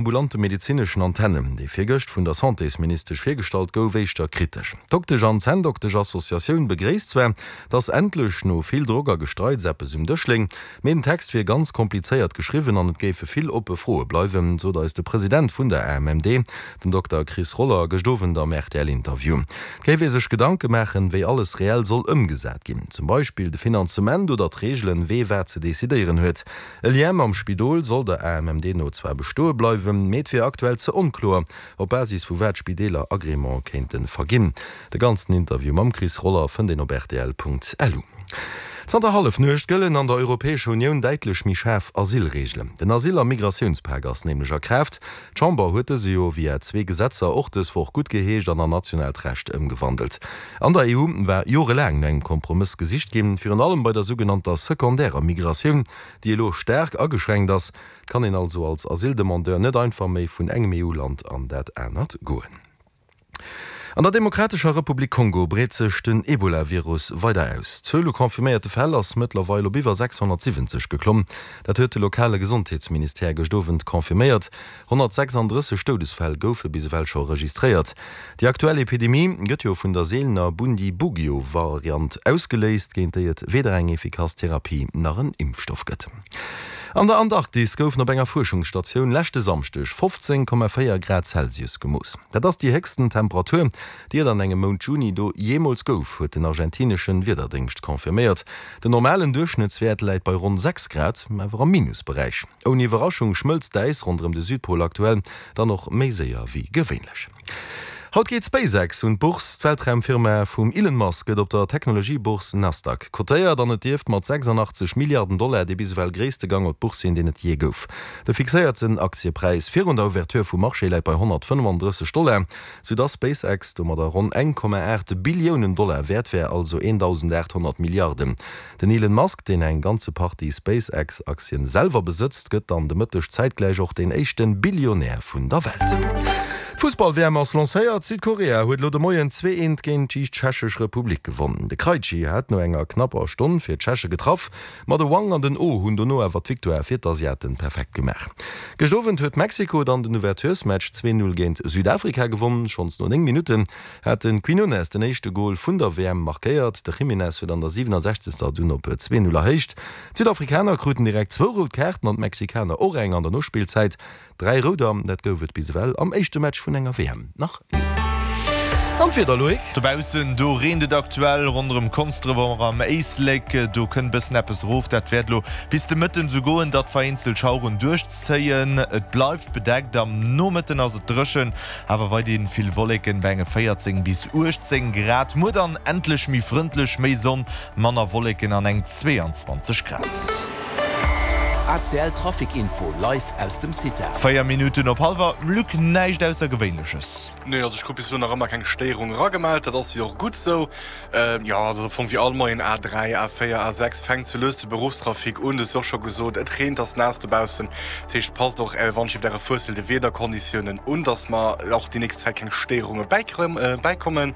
Ambulante medezineschen Antennen, dee virgëscht vun der Santésministesch virgestallt gouf, éischter kritesch. D'Doktesch an Zänndoktesch-Associatioun begréisst zwar, datt endlech no vill Drock a Gestreits eppes um Dësch léing, mee den Text wier ganz komplizéiert geschriwwen an et géife vill oppe Froe bleiwen, sot eis de President vun der AMMD, den Dokter Chris Roller, gëscht Owend am RTL-Interview. Et géif ee sech Gedanke maachen, wéi alles reell soll ëmgesat ginn, zum Beispill de Finanzement oder d'Reegelen, wee wat ze decidéieren huet. E Lien mam Spidol soll der AMMD no zwar bestoe bleiwen, mee et wier aktuell ze onkloer, op Basis vu wat Spideeler Agrément kéinte verginn. De ganzen Interview mam Chris Roller fënnt een op rtl.lu. Zanter Hallefnuecht gëllen an der Europäescher Unioun däitlech méi schaarf Asylreegelen. Den Asyl a Migratiounspak ass nämlech a Kraaft. D'Chamber huet dëse jo via zwee Gesetzer och dës Woch guttgeheescht an an nationaalt Recht ëmgewandelt. An der EU war jorelaang no engem Kompromëss gesicht ginn, virun allem bei der sougenannter sekondärer Migratioun, déi elo staark ageschränkt ass. Et kann een also als Asyldemandeur net einfach méi vun engem EU-Land an dat anert goen. An der Demokratescher Republik Kongo breet sech den Ebola-Virus weider aus. D'Zuel u confirméierte Fäll ass mëttlerweil op iwwer 670 geklomm. Dat huet de lokale Gesondheetsministère gëscht Owend confirméiert. 136 Doudesfäll goufe bis ewell scho registréiert. Déi aktuell Epidemie gëtt jo vun der seelener Bundibugyo-Variant ausgeléist, géint déi et weder eng efficace Therapie nach en Impfstoff gëtt. An der Antarktis goufen op enger Fuerschungsstatioun leschte Samschdeg 15,4 Grad Celsius gemooss. Dat ass déi héchsten Temperatur, déi et an engem Mount Juni do jeemools gouf, huet den argentinesche Wiederdéngscht confirméiert. Den normalen Duerchschnëttswäert läit bei ronn 6 Grad, awer am Minusberäich. Ouni Iwwerraschung schmëlzt d'Äis ronderëm de Südpol aktuell dann och méi séier wéi gewéinlech. Haut geet SpaceX un d'Bourse. D'Weltraumfirma vum Elon Musk gëtt op der Technologiebourse Nasdaq kotéiert an et dierft mat 86 Milliarden Dollar dee bis ewell gréisste Gang op d'Bourse sinn, deen et jee gouf. De fixéierten Aktiepräis virun der Ouverture vum Marché läit bei 135 Dollar, sou dass SpaceX domadder ronn 1,8 Billiounen Dollar wäert wär, also 1.800 Milliarden. Den Elon Musk, deen eng ganze Partie SpaceX-Aktien selwer besëtzt, gëtt dann de Mëtteg zäitgläich och deen éischte Billionär vun der Welt. D'Fussball-WM ass lancéiert, Südkorea huet elo de Moien 2, 1 géint d'Tschechesch Republik gewonn. De Krejci hat no enger knapper Stonn fir d'Tscheche getraff, ma de Wang an den Oh hunn dono awer d'Victoire fir d'Asiaten perfekt gemaach. Gëscht Owend huet Mexiko dann den Ouverturesmatch 2, 0 géint Südafrika gewonn. Schonns no 9 Minutten hat de Quinones den éischte Gol vun der WM markéiert. De Jiménez huet an der 67. dunn op 2, 0 erhéicht. D'Südafrikaner kruten direkt zwou rout Kaarten an d'Mexikaner och eng an der Nospillzäit. Dräi Rouder, dat gouf et bis ewell am éischte Match vun enger WM nach ni. An d'Wieder, Loïc? Dobaussen, do reent et aktuell ronderëm Konsdref och am Éislek. Do kënnt bëssen eppes erof. Dat wäert elo bis de Mëtten esou goen, datt vereenzelt Schaueren duerchzéien. Et bleift bedeckt, am Nomëtten ass et dréchen, awer weiderhin vill Wolleken bei enge 14 bis 18 Grad. Muer dann endlech méi frëndlech, méi Sonn, manner Wolleken an eng 22 Grad. ACL Trafic Info live aus dem CITA. 4 Minutten op hallwer, Luc, näischt Aussergewéinleches. Nee, also ech krut bis elo nach ëmmer keng Stéierung eragemellt, dat ass jo och gutt sou. Jo, dat ass am Fong wéi all Moien, A3, A4, A6 fänkt sou lues de Beruffstrafic un. Du hues jo och scho gesot, et reent, ass naass dobaussen. Dat heescht, passt och wann ech iwwer äre Fuessel de Wiederkonditiounen un, dass mer och déi nächst Zäit keng Stéierunge bäikommen.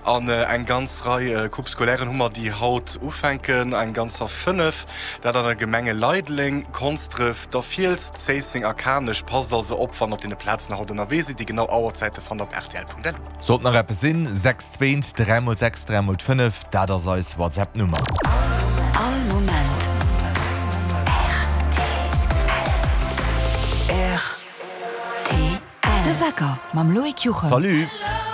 An eng ganz Rei Coupes scolairen hu mer, déi haut ufänken, eng ganzer 5, dat an de Gemenge Leideleng, Konsdref, der Fiels, Zéisseng a Kanech. Passt also op, wann der op deene Plazen haut ënnerwee sidd. Déi genau Auerzäite fannt der op rtl.lu. Sollt nach eppes sinn, 6 2 3 mol 6 3 mol 5, dat ass eis WhatsApp-Nummer. All Moment rtl. De Wecker mam Loïc Juchem. Salut!